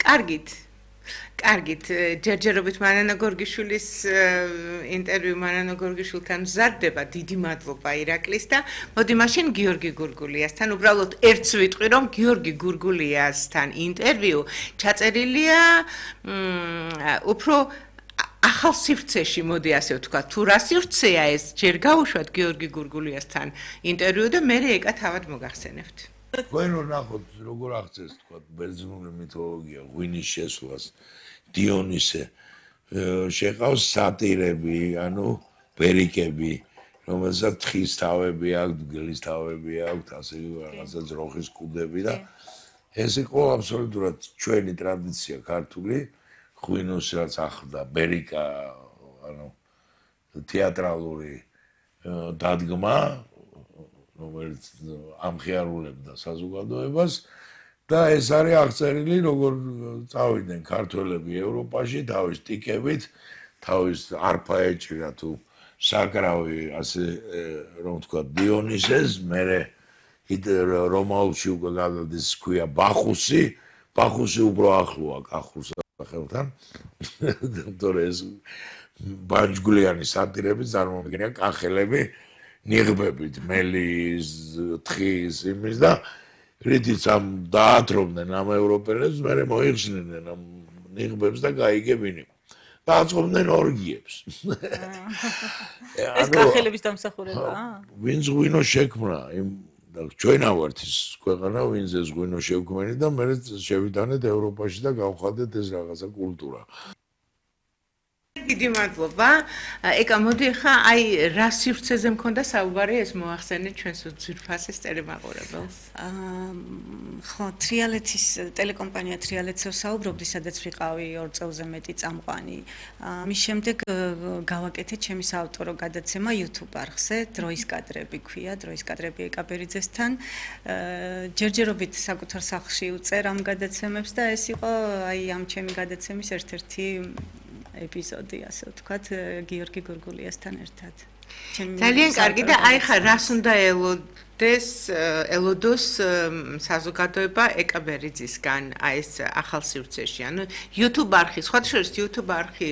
კარგით. კარგით, ჯერჯერობით მარანა გორგიშვილის ინტერვიუ მარანა გორგიშვილთან მზადდება. დიდი მადლობა ირაკლის და მოდი მაშინ გიორგი გურგულიასთან უბრალოდ ერთს ვიტყვი რომ გიორგი გურგულიასთან ინტერვიუ ჩაწერილია უფრო ახალ სივრცეში, მოდი ასე ვთქვა, თუ რა სივრცეა ეს, ჯერ გავუშვათ გიორგი გურგულიასთან ინტერვიუ და მე ეკა თავად მოგახსენებთ. თქვენ რომ ნახოთ როგორ აღწევს თქვა ბერძნული მითოლოგია ღვინის შესვლას დიონისე შეყავს სატირები ანუ ბერიკები რომელსაც თხის თავები აქვს დგლის თავები აქვს ასე რაღაცა ძროხის კუდები და ეს იყო აბსოლუტურად ჩვენი ტრადიცია ქართული ღვინოს რაც ახლდა ბერიკა ანუ თეატრალური დადგმა რომელიც ამხიარულებდა საზოგადოებას და ეს არის აღწერილი როგორ წავიდნენ ქართველები ევროპაში თავის ტიკებით თავის არფა ეჭირა თუ საკრავი ასე რომ თქვა დიონისეს მერე რომაულში უკვე გადადის ქვია ბახუსი უფრო ახლოა კახურს სახელთან თორე ეს ბანჯგვლიანი სატირები წარმოადგენია კახელები ნიღბებით, მელის, თხის, იმის და რითიც ამ დაათრობდნენ ამ ევროპელებს, მერე მოიხსნიდნენ ამ ნიღბებს და გაიგებინი. დააწყობდნენ ორგიებს. ეს კახელების დამსახურებაა? ვინც ღვინო შექმნა, ჩვენა ვართ ის ქვეყანა, ვინც ეს ღვინო შევქმნით და მერე შევიტანეთ ევროპაში და გავხადეთ ეს რაღაცა კულტურა. დიდი მადლობა. ეკა მოდი ხა აი რა სივრცეზე მქონდა საუბარი ეს მოახსენეთ ჩვენს ძვირფასის ტელემაყურებელს. ხო, თრიალეთის ტელეკომპანია თრიალეთზე საუბრობდი, სადაც ვიყავი 2 წელზე მეტი წამყვანი. მის შემდეგ გავაკეთე ჩემი საავტორო გადაცემა YouTube არხზე, დროის კადრები ქვია, დროის კადრები ეკაბერიძესთან. ჯერჯერობით საკუთარ სახლში უწერ ამ გადაცემებს და ეს იყო აი ამ ჩემი გადაცემის ერთ-ერთი ეპიზოდი, ასე ვთქვათ, გიორგი გურგულიასთან ერთად. ძალიან კარგი და აი ხა რას უნდა ელოდოს საზოგადოება ეკაბერიძისგან აი ეს ახალ სივრცეში. ანუ YouTube არხი, სხვათა შორის YouTube არხი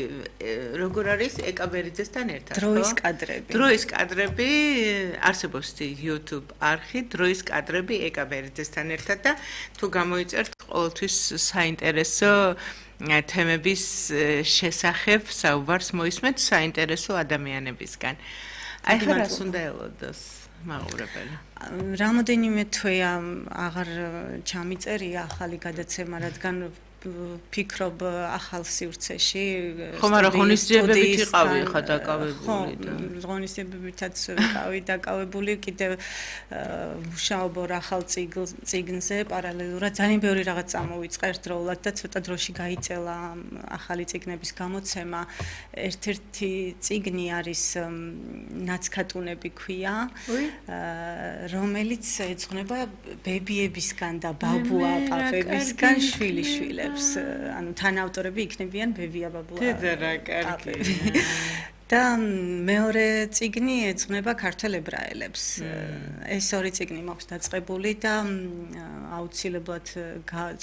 როგორ არის ეკაბერიძესთან ერთად, ხო? დროის კადრები. დროის კადრები არსებობს YouTube არხი, დროის კადრები ეკაბერიძესთან ერთად და თუ გამოიწერთ ყოველთვის საინტერესო თემების შესახებ საუბარს მოისმენთ საინტერესო ადამიანებისგან. აი ხა რას უნდა ელოდოს მაყურებელი? რამოდენიმე თვეა აღარ ჩამიწერია ახალი გადაცემა, რადგან ფიქრობ ახალ სივრცეში ხო მაგრამ ღონისძიებებით იყავი ხა დაკავებული და ღონისძიებებითაც ვიყავი დაკავებული კიდევ მუშაობ ახალ წიგნზე პარალელურად ძალიან ბევრი რაღაც წამოვიწყე ერთდროულად და ცოტა დროში გაიწელა ახალი წიგნების გამოცემა ერთ-ერთი წიგნი არის ნაცქატუნები ქვია რომელიც ეძღვნება ბებიებისგან და ბაბუა-პაპებისგან შვილიშვილებს ანუ თანაავტორები იქნებიან ბებია ბაბუა. დედა რა კარგი. და მეორე წიგნი ეძღვნება ქართველ ებრაელებს. ეს ორი წიგნი მაქვს დაწყებული და აუცილებლად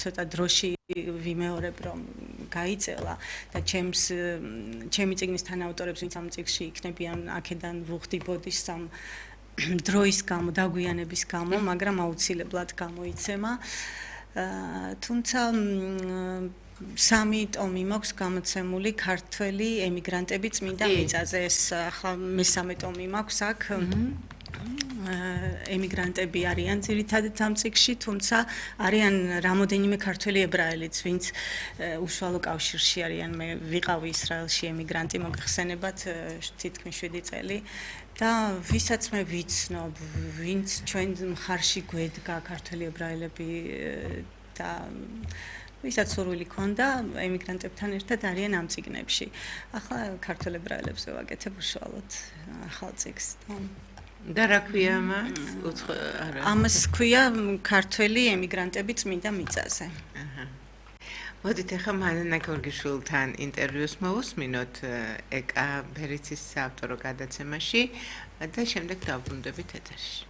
ცოტა დროში ვიმეორებ რომ გაიწელა და ჩემი წიგნის თანაავტორებს ვინც ამ წიგნში იქნებიან აქედან ვუხდი ბოდიშს ამ დროის გამო დაგვიანების გამო, მაგრამ აუცილებლად გამოიცემა. თუმცა სამი ტომი მაქვს გამოცემული ქართველი ემიგრანტები წმინდა მიწაზე. ეს ახლა მესამე ტომი მაქვს აქ. ემიგრანტები არიან ძირითადად ამ წიგნში, თუმცა არიან რამოდენიმე ქართველი ებრაელიც, ვინც უშუალო კავშირში არიან. მე ვიყავი ისრაელში ემიგრანტი, მოგხსენებათ თითქმის 7 წელი. და ვისაც მე ვიცნობ, ვინც ჩვენ მხარში გვედგა ქართველი ებრაელები და ვისაც სურვილი ქონდა ემიგრანტებთან ერთად არიან ამ წიგნებში. ახლა ქართველ ებრაელებს ვაკეთებ უშუალოდ ახალ წიგნს. და რა ქვია მას? ამას ქვია ქართველი ემიგრანტები წმინდა მიწაზე. მოდით ახლა მარანა გორგიშვილთან ინტერვიუს მოვუსმინოთ ეკაბერიძის საავტორო გადაცემაში და შემდეგ დავბრუნდებით ეთერში.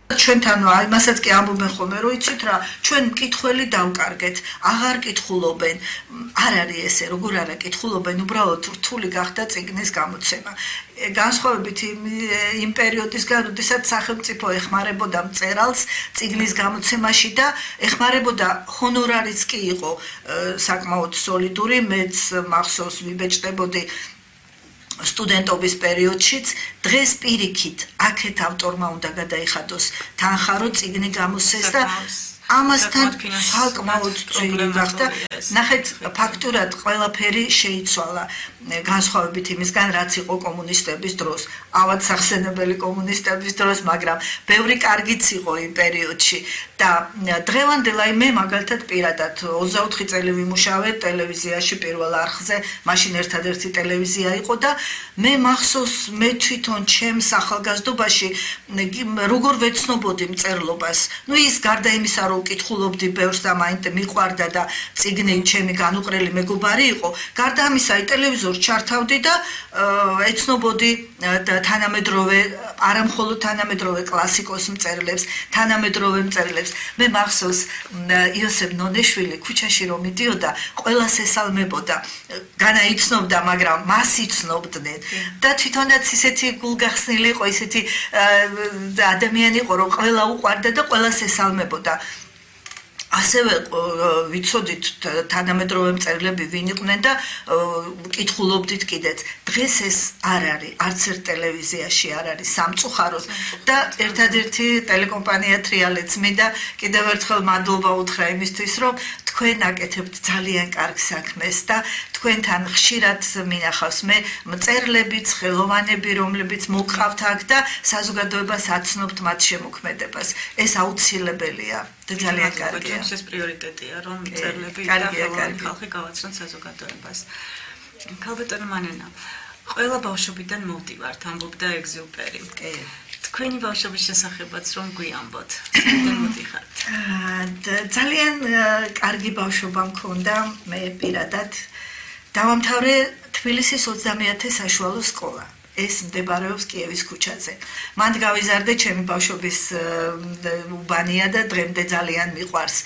ჩვენთან იმასაც კი ამბობენ ხოლმე, რომ იცით რა, ჩვენ მკითხველი დავკარგეთ, აღარ კითხულობენ. არ არის ესე, როგორ არა კითხულობენ, უბრალოდ რთული გახდა წიგნის გამოცემა. განსხვავებით იმ პერიოდისგან, როდესაც სახელმწიფო ეხმარებოდა მწერალს წიგნის გამოცემაში და ეხმარებოდა ჰონორარიც კი იყო საკმაოდ სოლიდური, მეც მახსოვს ვიბეჭდებოდი სტუდენტობის პერიოდშიც დღეს პირიქით აქეთ ავტორმა უნდა გადაიხადოს თანხა რომ წიგნი გამოსცეს და ამასთან საკმაოდ წვირი გახდა. ნახეთ, ფაქტურად ყველაფერი შეიცვალა განსხვავებით იმისგან, რაც იყო კომუნისტების დროს, ავად სახსენებელი კომუნისტების დროს, მაგრამ ბევრი კარგიც იყო იმ პერიოდში და დღევანდელ მე მაგალითად პირადად 24 წელი ვიმუშავე ტელევიზიაში პირველ არხზე, მაშინ ერთადერთი ტელევიზია იყო და მე მახსოვს მე თვითონ ჩემს ახალგაზრდობაში როგორ ვეცნობოდი მწერლობას. ნუ ის გარდა იმისა, რომ ვკითხულობდი ბევრს და მაინც მიყვარდა და წიგნი ჩემი განუყრელი მეგობარი იყო, გარდა ამისა ტელევიზორს ჩართავდი და ეცნობოდი თანამედროვე, არა მხოლოდ თანამედროვე კლასიკოს მწერლებს, თანამედროვე მწერლებს. მე მახსოვს იოსებ ნონეშვილი ქუჩაში რომ მიდიოდა, ყველას ესალმებოდა, განაიცნობდა, მაგრამ მას იცნობდნენ და თვითონაც ისეთი გულგახსნილი იყო, ისეთი ადამიანი იყო, რომ ყველა უყვარდა და ყველას ესალმებოდა. ასევე ვიცოდით თანამედროვე მწერლები ვინ იყვნენ და კითხულობდით კიდეც. დღეს ეს არ არის, არც ერთ ტელევიზიაში არ არის სამწუხაროდ და ერთადერთი ტელეკომპანია ტრიალეც მინდა კიდევ ერთხელ მადლობა უთხრა იმისთვის, რომ თქვენ აკეთებთ ძალიან კარგ საქმეს და თქვენთან ხშირად მინახავს მე მწერლებიც, ხელოვანები, რომლებიც მოგყავთ აქ და საზოგადოებას აცნობთ მათ შემოქმედებას. ეს აუცილებელია და ძალიან კარგია. ეს პრიორიტეტია, რომ მწერლები და ხელოვანი ხალხი გავაცნოთ საზოგადოებას. ქალბატონო მანენა, ყველა ბავშვობიდან მოვდივართ, ამბობდა ეგზიუპერი. თქვენი ბავშვობის შესახებაც რომ გვიამბოთ. საერთოდ მოდიხართ. ძალიან კარგი ბავშვობა მქონდა, მე პირადად დავამთავრე თბილისის 30-ე საშუალო სკოლა. ეს მდებარეობს კიევის ქუჩაზე. მანდ გავიზარდე ჩემი ბავშვობის უბანია და დღემდე ძალიან მიყვარს.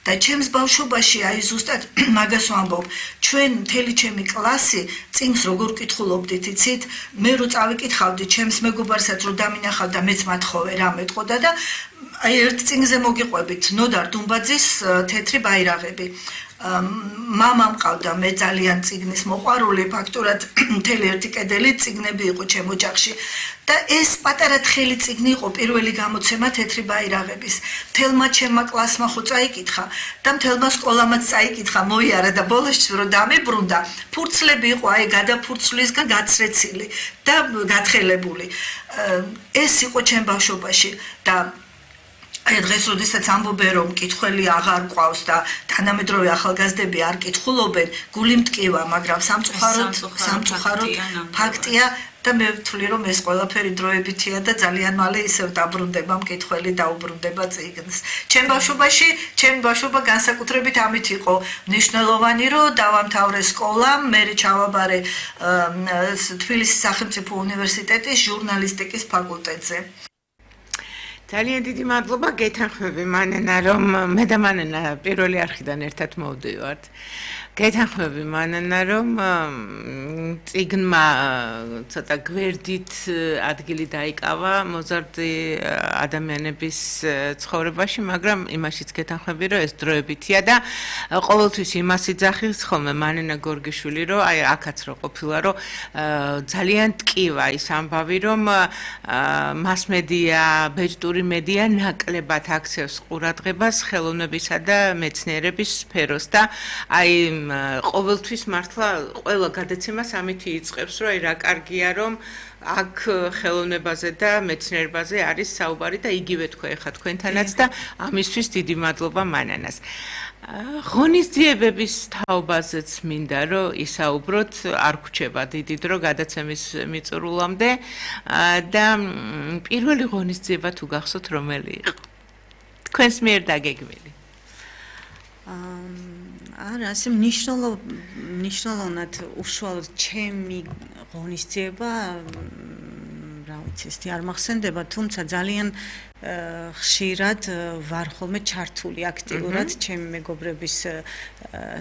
და ჩემს ბავშვობაში აი ზუსტად მაგას ვამბობ, ჩვენ მთელი ჩემი კლასი წიგნს როგორ კითხულობდით, იცით? მე რო წავიკითხავდი ჩემს მეგობარსაც რო დამინახავდა, მეც მათხოვე რა მეტყოდა და აი ერთ წიგნზე მოგიყვებით ნოდარ დუმბაძის თეთრი ბაირაღები. მამა მყავდა, მე ძალიან წიგნის მოყვარული, ფაქტურად მთელი ერთი კედელი წიგნები იყო ჩემ ოჯახში. და ეს პატარა თხელი წიგნი იყო პირველი გამოცემა თეთრი ბაირაღების. მთელმა ჩემმა კლასმა ხო წაიკითხა და მთელმა სკოლამაც წაიკითხა, მოიარა და ბოლოს რო დამებრუნდა, ფურცლები იყო აი გადაფურცლისგან გაცრეცილი და გათხელებული. ეს იყო ჩემ ბავშვობაში და აი დღეს როდესაც ამბობენ რომ კითხველი აღარ ყავს და თანამედროვე ახალგაზრდები არ კითხულობენ, გული მტკივა, მაგრამ სამწუხაროდ ფაქტია და მე ვთვლი რომ ეს ყველაფერი დროებითია და ძალიან მალე ისევ დაბრუნდება მკითხველი დაუბრუნდება წიგნს. ჩემ ბავშვობა განსაკუთრებით ამით იყო მნიშვნელოვანი, რომ დავამთავრე სკოლა, მე ჩავაბარე თბილისის სახელმწიფო უნივერსიტეტის ჟურნალისტიკის ფაკულტეტზე. ძალიან დიდი მადლობა, გეთანხმები მანენა, რომ მე და მანენა პირველი არხიდან ერთად მოვდივართ. გეთანხმები მანენა, რომ წიგნმა ცოტა გვერდით ადგილი დაიკავა მოზარდი ადამიანების ცხოვრებაში, მაგრამ იმაშიც გეთანხმები, რომ ეს დროებითია და ყოველთვის იმას იძახის ხოლმე მანენა გორგიშვილი, რომ აი აქაც რო ყოფილა, რომ ძალიან ტკივა ის ამბავი, რომ მასმედია, ბეჭდური მედია ნაკლებად აქცევს ყურადღებას ხელოვნებისა და მეცნიერების სფეროს და აი ყოველთვის მართლა ყველა გადაცემას ამით იწყებს, რომ აი რა კარგია, რომ აქ ხელოვნებაზე და მეცნიერებაზე არის საუბარი და იგივე თქვა ეხა თქვენთანაც და ამისთვის დიდი მადლობა მანანას. ღონისძიებების თაობაზეც მინდა რომ ისაუბროთ, არ გვჩება დიდი დრო გადაცემის მიწურულამდე და პირველი ღონისძიება თუ გახსოვთ რომელი იყო? თქვენს მიერ დაგეგმილი. არა, ასე მნიშვნელოვნად უშუალოდ ჩემი ღონისძიება ვიცი, ეს არ მახსენდება, თუმცა ძალიან ხშირად ვარ ხოლმე ჩართული აქტიურად ჩემი მეგობრების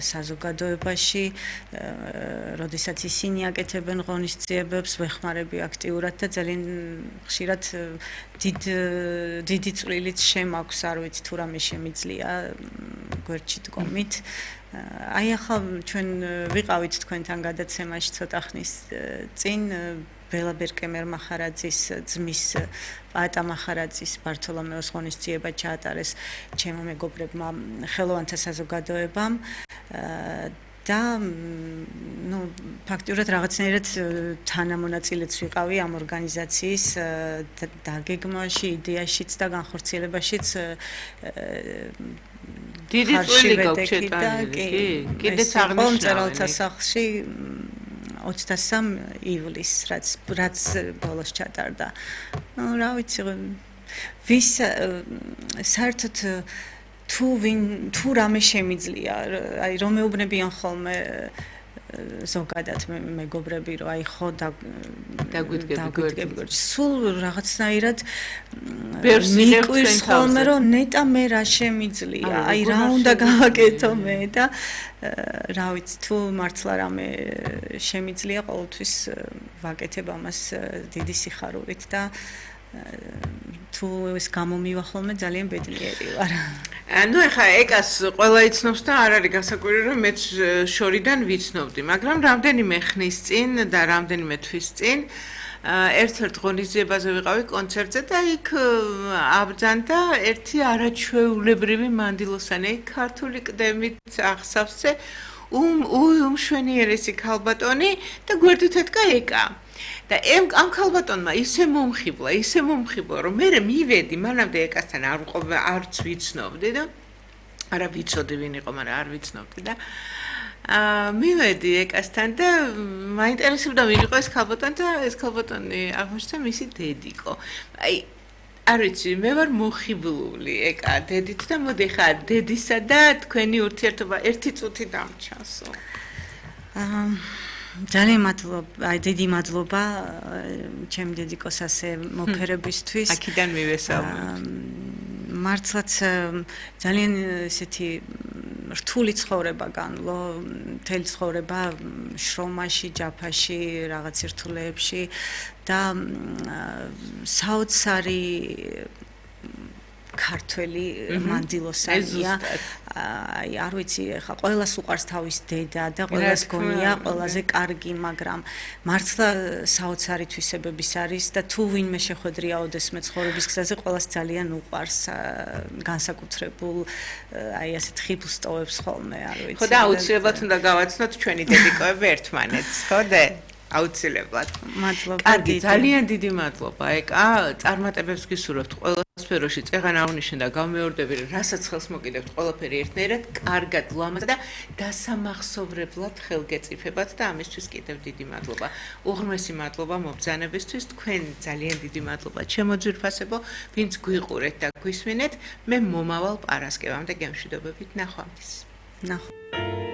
საზოგადოებაში, როდესაც ისინი აკეთებენ ღონისძიებებს, ვეხმარები აქტიურად და ძალიან ხშირად დიდი წვლილიც შემაქვს, არ ვიცი თუ რამე შემიძლია გვერდში დგომით. აი ახლა ჩვენ ვიყავით თქვენთან გადაცემაში ცოტა ხნის წინ ბელა ბერკემერ მახარაძის ძმის პაატა მახარაძის ბართოლომეოს ღონისძიება ჩაატარეს ჩემო მეგობრებმა ხელოვანთა საზოგადოებამ და ну ფაქტიურად რაღაცნაირად თანამონაწილეც ვიყავი ამ ორგანიზაციის დაგეგმვაში, იდეაშიც და განხორციელებაშიც დიდი წვლილი გაქვს შეტანილი. კიდეც აღნიშნავენ მწერალთა სახლში 23 ივლისს, რაც ბოლოს ჩატარდა. ну რა ვიცი, ვის საერთოდ თუ რამე შემიძლია, აი რომ მეუბნებიან ხოლმე ზოგადად მეგობრები, რომ აი ხო დაგვიდგები. სულ რაღაცნაირად მიყვირს ხოლმე, რომ ნეტა მე რა შემიძლია, აი რა უნდა გავაკეთო მე და რა ვიცი, თუ მართლა რამე შემიძლია, ყოველთვის ვაკეთებ ამას დიდი სიხარულით და თუ ეს გამომივა ხოლმე ძალიან ბედნიერი ვარ. ну ეხა ეკას ყველა იცნობს და არ არის გასაკვირი რომ მეც შორიდან ვიცნობდი, მაგრამ რამდენიმე ხნის წინ და რამდენიმე თვის წინ ერთ-ერთ ღონისძიებაზე ვიყავი კონცერტზე და იქ აბრძანდა ერთი არაჩვეულებრივი მანდილოსანი, ქართული კდემით ახსავსე უმშვენიერესი ქალბატონი და გვერდით ეთკა ეკა. და ამ ქალბატონმა ისე მომხიბლა, რომ მე მივედი, მანამდე ეკასთან არც ვიცნობდი და არა ვიცოდი ვინ იყო, მაგრამ არ ვიცნობდი და მივედი ეკასთან და მაინტერესებდა ვინ იყო ეს ქალბატონი და ეს ქალბატონი აღმოჩნდა მისი დედიკო. აი არ ვიცი, მე ვარ მოხიბლული ეკა დედით და მოდი ხა დედისა და თქვენი ურთიერთობა ერთი წუთი დამჩასო. ძალიან მადლობა, აი დიდი მადლობა ჩემი დედიკოს ასე მოფერებისთვის. აქედან მივესალმე. მართლაც ძალიან ესეთი რთული ცხოვრება განვლო, მთელი ცხოვრება შრომაში, ჯაფაში, რაღაც ერთულეებში და საოცარი ქართველი მანდილოსანია. აი არ ვიცი, ხა ყველას უყარს თავის დედა და ყველას გონია ყველაზე კარგი, მაგრამ მართლა საოცარი თვისებების არის და თუ ვინმე შეხვედრია ოდესმე ცხოვრების გზაზე, ყველას ძალიან უყარს განსაკუთრებულ აი ასეთ ხიბლს ტოვებს ხოლმე, არ ვიცი. ხო და აუცილებლად უნდა გავაცნოთ ჩვენი დედიკოები ერთმანეთს, ხო და აუცილებლად. მადლობა. კარგი, ძალიან დიდი მადლობა. ეკა, წარმატებებს გისურვებთ ყველა სფეროში. წეღან აღნიშნე და გამეორდები, რასაც ხელს მოკიდებთ, ყველაფერი ერთნაირად, კარგად, ლამაზად და დასამახსოვრებლად ხელგეწიფებათ და ამისთვის კიდევ დიდი მადლობა. უღრმესი მადლობა მობრძანებისთვის, თქვენ ძალიან დიდი მადლობა. ჩემო ძვირფასებო, ვინც გვიყურეთ და გვისმინეთ, მე მომავალ პარასკევამდე გემშვიდობებით ნახვამდის. ნახვამდის.